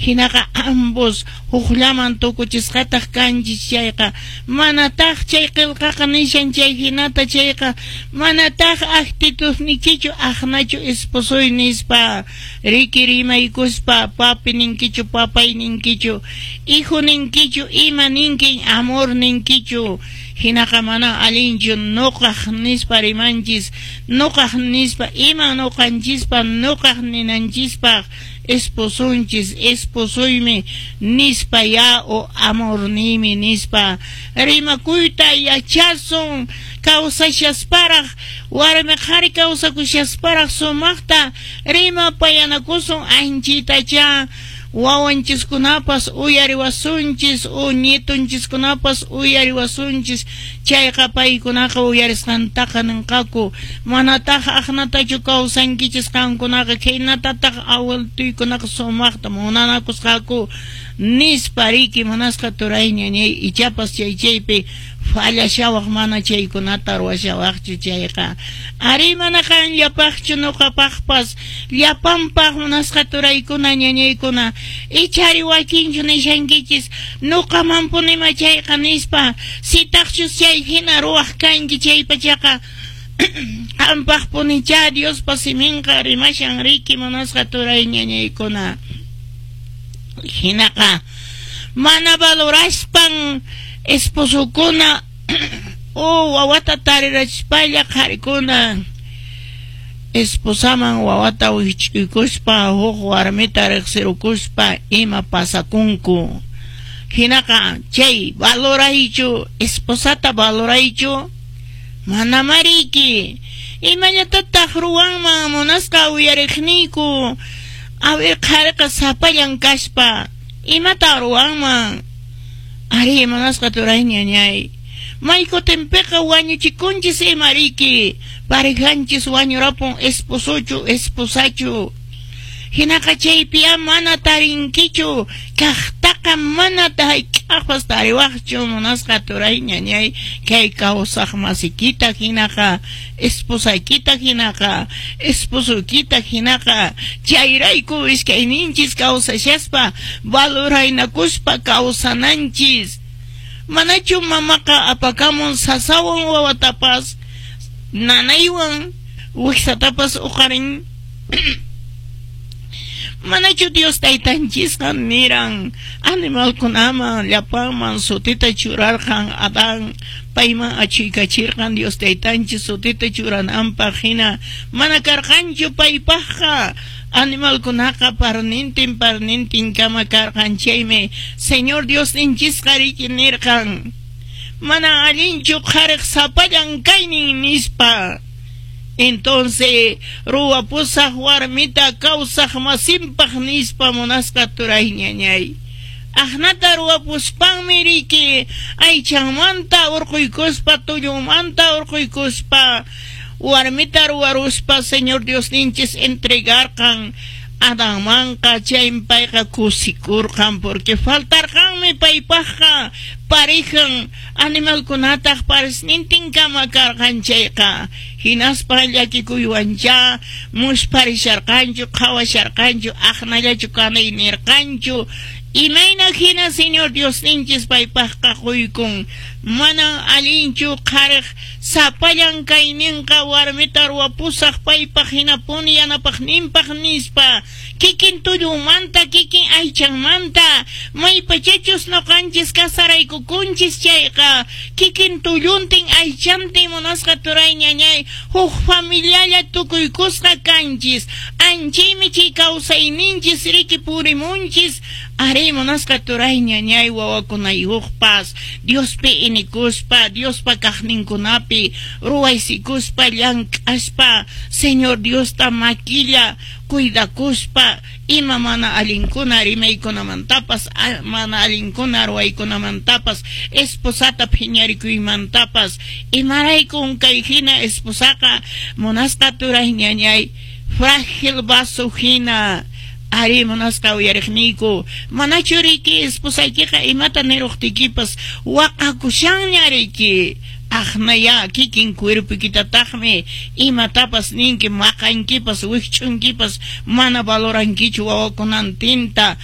Hinaqa ambos hukllaman tukuchisqataq kanchis chayqa, manataq chay qillqaqa nishan chay hinata chayqa, manataq actitudnikichu aqnachu esposoy nispa, riki rimaykuspa, papi ninkichu, papay ninkichu, hijo ninkichu, ima ninkin, amor ninkichu. Hinaqa mana allinchu nuqaq nispa rimanchis, nuqaq nispa, ima nuqanchispa nuqaq ninanchispaq esposonchis, esposoymi nispa ya o amorniymi nispa. Rimakuyta yachasun kawsashasparaq, warmi qhari kawsakushasparaq sumaqta rimapayanakusun anchitacha wawanchiskunapas uyariwasunchis o nietonchiskunapas uyariwasunchis, chayqa paykunaqa uyarisqantaqa ninqaku, manataq aqnatachu kawsankichis qankunaqa, khaynatataq abueltoykunaqa sumaqta munanakusqaku nispa riki munasqa turay ñañay, ichapas chay chaypi fallashawaq mana chaykunata ruwashawaqchu chayqa. Ari mana qanllapaqchu nuqapaqpas llapanpaq munasqa turaykuna ñañaykuna, ichari wakinchu nishankichis nuqamanpunima chayqa nispa, sitaqchus chay hina ruwaq kanki chaypachaqa qampaqpunichá Diospa siminqa rimashan riki munasqa turay ñañaykuna. Hinaqa mana valoraspan esposokuna o wawata tarirachispalla qharikuna esposaman wawata wikch'uykuspa huk warmita riqsirukuspa ima pasakunku. Hinaqa chay valoraychu, esposata valoraychu, mana mariki. Imallatataq ruwanman munasqa uyariqniyku, a ver qhariqa sapallan kaspa, imata ruwanman? Ari munasqa turay ñañay. Maykutinpiqa wañuchikunchis ima riki, parejanchis wañurapun esposochu esposachu. Hinaqa chaypiya mana tarinkichu, kaqtaqa mana hayk'aqpas tariwaqchu munasqa turay ñañay, kay kawsaq masikita hinaqa, esposaykita hinaqa, esposoykita hinaqa, chayrayku iskayninchis kawsashaspa valoraynakuspa kawsananchis. Manachu mamaqa apakamun sasawan wawatapas, nanaywan wiksatapas uqarin? Manachu Dios taytanchisqa niran animalkunaman llapanman sutita churarqan Adán payman achuykachirqan Dios taytanchis sutita churananpaq hina mana karqanchu paypaqqa animalkunaqa parnintin parnintin kama karqan chaymi Señor Diosninchisqa riki nirqan mana allinchu qhariq sapallan kaynin nispa. Entonces ruwapusaq warmita kawsaq masinpaq nispa munasqa turay ñañay. Aqnata ruwapuspanmi riki aychanmanta urquykuspa tullunmanta urquykuspa warmita ruwaruspa Señor Diosninchis entregarqan Adanmanqa chaymi payqa kusikurqan porque faltarqanmi paypaqqa parejan animalkunataq paresnintin kama karqan chayqa hinaspa llakikuywanchá muspharisharqanchu qhawasharqanchu aqnallachu kanay nirqanchu imayna hina Señor Diosninchis paypaqqa quykun manan allinchu qhariq sapallan kayninqa warmita ruwapusaq paypaq hinapuni yanapaqninpaq nispa kikin tullunmanta kikin aychanmanta maypachachus nuqanchis kasaraykukunchis chayqa kikin tulluntin aychantin munasqa turay ñañay huk familialla tukuykusqa kanchis anchaymi chay kawsayninchis riki purimunchis ari munasqa turay ñañay wawakunayuqpas Diospi inikuspa Diospa kaqninkunapi ruwaysikuspa llank'aspa Señor Diosta makilla cuidakuspa ima mana allinkuna rimaykunamantapas mana allinkuna ruwaykunamantapas esposata phiñarikuymantapas imaraykun kay hina esposaqa munasqa turay ñañay frágil vaso hina ari munasqa uyariqniyku manachu riki esposaykiqa imata niruqtiykipas waqakushanña riki aqnaya kikin cuerpoykitataqmi imatapas ninki maqankipas wikch'unkipas mana valorankichu wawakunantinta.